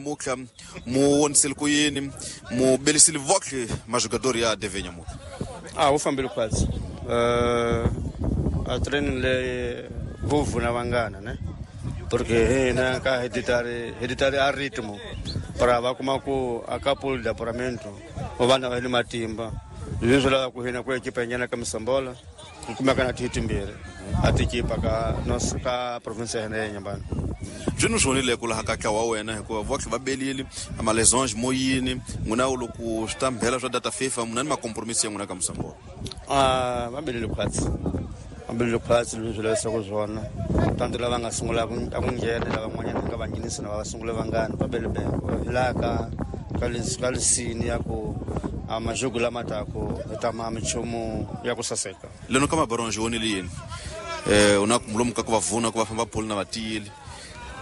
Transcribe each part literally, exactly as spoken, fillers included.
Mukla mu wonisile ku yini mu belisile vohle majogador ya D V nyamuka? Ah, wu fambile khwatsi. Uh, a training le vuvuna vangana ne, porque hina ka hereditary hereditary a ritmo para va kuma ku a couple de apuramento vana va ni matimba leswi lava ku hina ku ekipa nyana ka Mosambola ku kumeka na timbirhi a tikipa ka no ka province ya hina ya Nyambani. Byi swi vonile ku laha ka ntlawa wa wena hikuva vohle va belile amalesange moyini n'wina loko swi ta mbhela swa data FIFA muna ni makompromisi ya n'wina ka Mosambola? Ah, va belile khwatsi, va belile khwatsi leswi lavisaka swona tanto lava nga sungula ku a ku nghena lava van'wanyana nga va nghenisi na va sungula vangani va bele bele laha ka ka ka lisini ya ku a majogo lama taku hi ta ma minchumu ya ku saseka. Leno ka mabaronge vonile yini? Eh, u na lomu ka ku va vuna ku va famba polo na vatiyile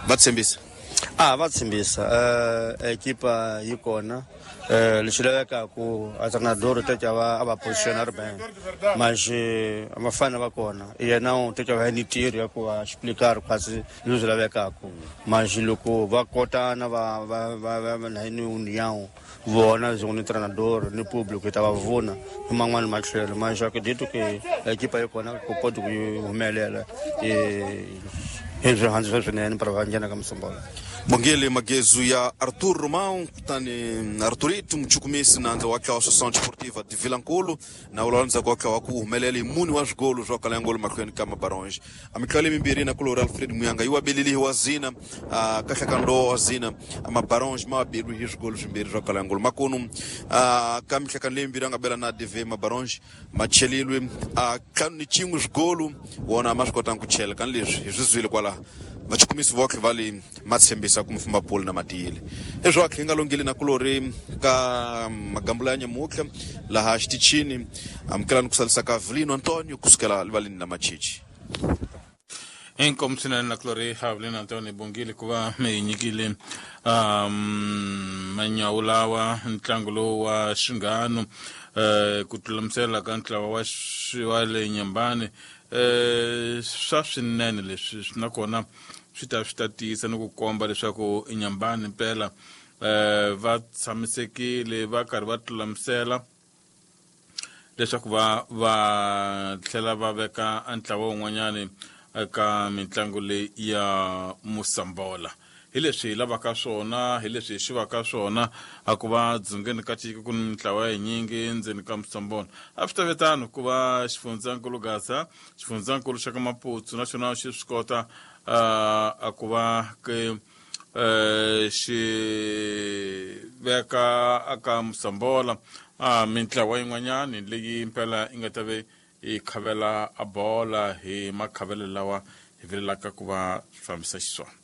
va tshembisa? Ah, va tshembisa. Eh, ekipa yi kona. Eh, lexi lavekaku a treinador teka va a va positioner ben mas vafana va kona yena u teka va ni ntirho ya ku va explicar khwatsi leswi lavekaku mas loko va kotana va va va va na ni união vona byi ni treinador ni público ta va vona hi man'wani matlhelo mas acredito que ekipa yi kona ku pode ku humelela eh hi swihandzu swinene para va nghena ka Mosambola. Bongele magezu ya Arthur Romão kutani Arthurito muchukumisi nandza wa ntlawa Associação Desportiva de Vilankulu na ulanza kwa ntlawa ku humelela hi mune wa swigolo swa kala ngolo mahlweni ka mabaronge. A mitlhelo mimbirhi na kulori Alfred Muyanga yi wa belile wa zina kahlakando wa zina mabaronge ma belwe hi swigolo swimbirhi swa kala ngolo makunu ka mihlakano leyi mimbirhi a nga bela na D V mabaronge ma chelilwe a ntlhanu ni xin'we swigolo wona ma swi kotanga ku chela kani leswi hi swi zwile kwalaho vachukumisi vohle va le matshembisa ku mufamba polo na matiyile eswakhe hi nga longile na kulori ka magambula ya nyamutlha laha xitichini amukelani ku salisa ka Avelino Antonio kusukela livaleni la Machichi. Inkomu swinene na kulori Avelino Antonio bongile ku va mi hi nyikile um manyawu lawa ntlangu lowu wa xinghano eh ku tlulamisela ka ntlawa wa wa le Nyambani eh swa swinene leswi nakona swi ta swi ta tiyisa ni ku komba leswaku Nyambani mpela eh va tshamisekile va karhi va tlulamisela leswaku va va tlhela va veka ntlawa wun'wanyani eka mitlangu leyi ya Mosambola. Hi leswi hi lavaka swona, hi leswi hi xivaka swona a ku va dzungeni ka tiko ku ni mintlawa yinyingi ndzeni ka Mosambola. A swi ta ve tano ku va xifundzankulu Gaza, xifundzankulu xa ka Maputo na xona xi swi kota a ku va ke xi veka aka Mosambola a mintlawa yin'wanyani leyi mpela yi nga ta ve yi khavela a bola hi makhavelo lawa hi vilelaka ku va fambisa xiswona.